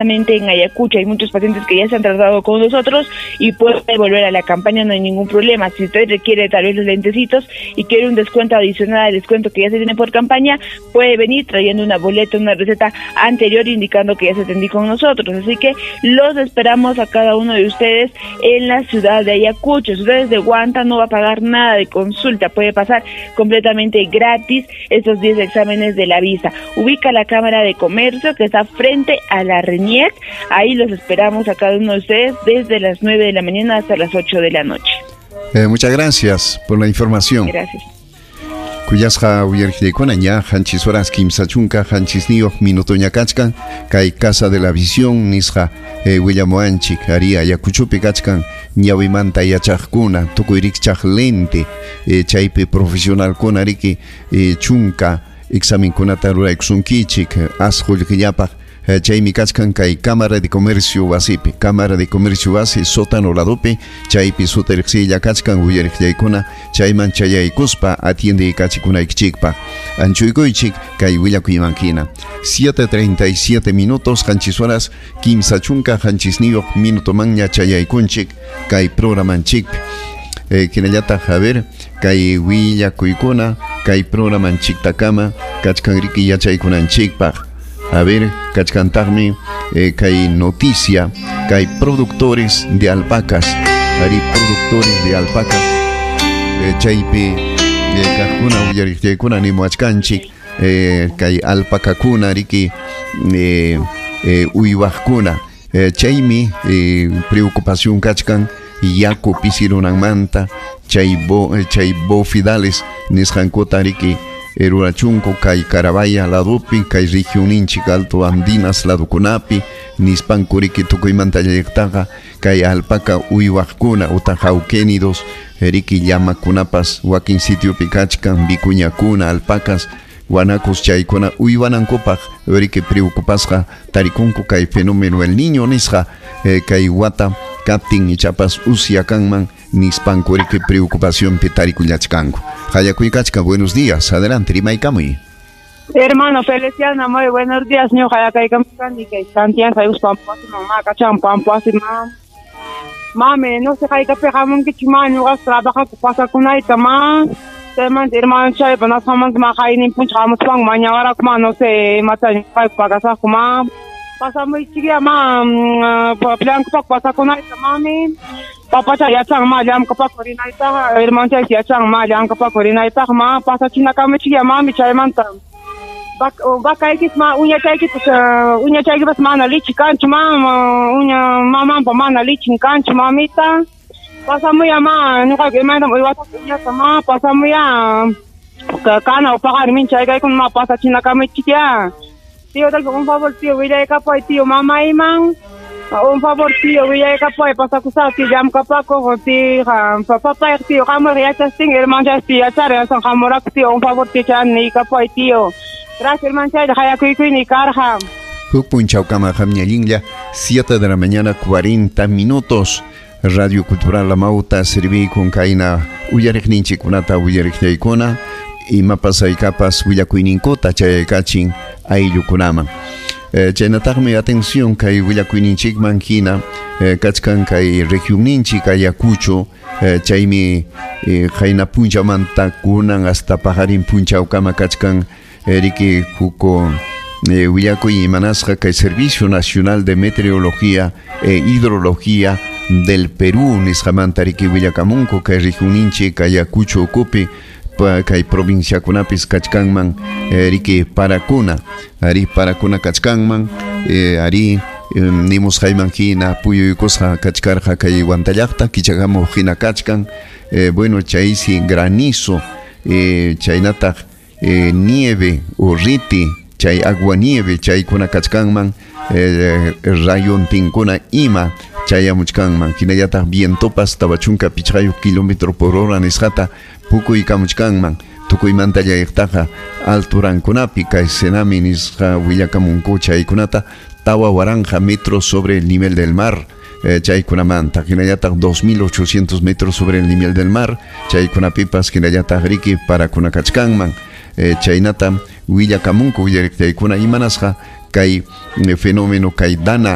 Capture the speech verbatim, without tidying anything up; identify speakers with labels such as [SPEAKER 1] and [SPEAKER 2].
[SPEAKER 1] En Ayacucho hay muchos pacientes que ya se han tratado con nosotros y puede volver a la campaña, no hay ningún problema. Si usted requiere tal vez los lentecitos y quiere un descuento adicional al descuento que ya se tiene por campaña, puede venir trayendo una boleta, una receta anterior indicando que ya se atendió con nosotros. Así que los esperamos a cada uno de ustedes en la ciudad de Ayacucho. Si usted es de Huanta, no va a pagar nada de consulta, puede pasar completamente gratis estos diez exámenes de la vista. Ubica la Cámara de Comercio que está frente a la RENIEC. Ahí los esperamos a cada uno de ustedes desde las nueve de la mañana hasta las ocho de la noche.
[SPEAKER 2] Eh, muchas gracias por la información.
[SPEAKER 1] Gracias.
[SPEAKER 2] Kuyasqa uyariqllaykuna ña qanchis horas kimsa chunka qanchisniyuq minutoña kachkan kay Casa de la Visión nisqa eh, willamuwanchik ari Ayacuchopi kachkan ñawimanta yachaqkuna tukuy rikchaq lente eh, chaypi profesionalkuna riki eh, chunka examenkunata ruraykusunkichik as qullqillapaq. Chaymi kachkan kay Cámara de Comercio wasipi, Cámara de Comercio wasi sótano ladopi, chaypi sutariqsilla kachkan uyariqllaykuna chayman chayaykuspa atiende kachikunaykichikpaq. Anchuykuychik kay willakuyman hina. siete treinta y siete minutos, qanchis horas kimsa chunka qanchisniyuq minutomanña chayaykunchik kay programanchikpi. Eh, hinallataq, a ver, kay willakuykuna kay programanchiktakama kachkan riki yachaykunanchikpaq. A ver, kachkantaqmi eh, kay noticia, kay productores de alpacas, ari productores de alpacas, eh, chaypi eh, kaqkuna uyariqllaykuna nimuwachkanchik, eh, kay alpacakuna riki eh, eh, uywaqkuna, eh, chaymi eh, preocupación kachkan yaku pisirunanmanta, chay bo, eh, chay bofidales nisqankuta riki rurachunku kay Carabaya ladupi, kay regioninchik Alto Andinas ladukunapi, nispanku riki tukuymanta llaqtaqa kay alpaca uywaqkuna utaq auquénidos riki llamakunapas wakin sitiopi kachkan vicuñakuna, alpacas, guanacos chaykuna uywanankupaq riki preocupasqa tarikunku kay fenómeno el niño nisqa eh, kay wata kaptin ichapas usya kanman nispanku riki preocupacionpi tarikullachkanku. Hayakuykachka, buenos días, adelante, rimaykamuy.
[SPEAKER 3] Hermano Feliciano, muy buenos días, ñuqa hayakaykamuchkani kay Santiago Pampuasiman, makachan Pampuasiman. Mami, no sé haykapi hamunkichik ma, ñuqas trabajaku pasakunayta ma. Chaymanta hermano chaypa nasqanmanta ma qaynin puncha hamuspanku mañawaraku ma, no sé imata ñuqayku pagasaqku ma. Pasamuychikya ma, llamk'apaku pasakunayta mami. Papacha yachan ma llamk'apaku rinaytaqa, hermano yachan ma llamk'apaku rinaytaqa ma, pasachinakamichikya mami chaymanta. Vacaykis ma uñachaykipas uñachaykipas mana lichi kanchu ma, uña mamanpa mana lichin kanchu mamita. Pasamuya ma, ñuqayku imaynam uywasaq uñata ma, pasamuya kana paqari minchaykaykuna ma pasachinakamichikya. Tío, tal un favor, tío, willaykapuy, tío, mamayman. Un favor, tío, willaykapuy, pasakusaq, tío, llamkapakuq, tío, papayq, tío, hamuq yachastin, hermano, tío, yachar, yasan hamurak, tío, un favor, tío, chan niykapuy, tío. Gracias, hermano, chay, hayakuykuyni karqa.
[SPEAKER 2] Huk punchawkama hamñallinlla, siete de la mañana, cuarenta minutos. Radio Cultural La Mauta, servikun kayna uyariqninchikkunata uyariqllaykuna, imapas haykapas willakuyninkuta chayaykachin ayllukunaman. Eh, chaynataqmi atención kay willakuyninchikman hina eh, kachkan kay regionninchik Ayacucho, eh, chaymi eh, qayna punchamanta kunan hasta paqarin punchawkama kachkan eh, riki huko eh, willakuy imanasqa kay Servicio Nacional de Meteorología e Hidrología del Perú nisqamanta riki willakamunku kay regionninchik Ayacucho ukupi kay provinciakunapis kachkanman eh, riki parakuna ari parakuna kachkanman eh, ari eh, nimusqayman hina puyuykusqa kachkarqa kay Huantallaqta kichakamuq hina kachkan eh, bueno chaysi granizo eh, chaynataq eh, nieve o riti chay agua nieve chaykuna kachkanman eh, rayontinkuna ima chayamuchkanman hinallataq vientopas tawa chunka pichqayuq kilómetro por hora nisqata pukuykamuchkanman tukuymanta llayqtaqa alturankunapi kay Senami nisqa willakamunku chaykunata tawa waranqa metros sobre el nivel del mar eh, chaykunamanta hinallataq dos mil ochocientos metros sobre el nivel del mar chaykunapipas hinallataq riki parakunakachkanman eh, chaynata Willakamunku uyariqtaykuna imanasqa kay fenómeno kay dana.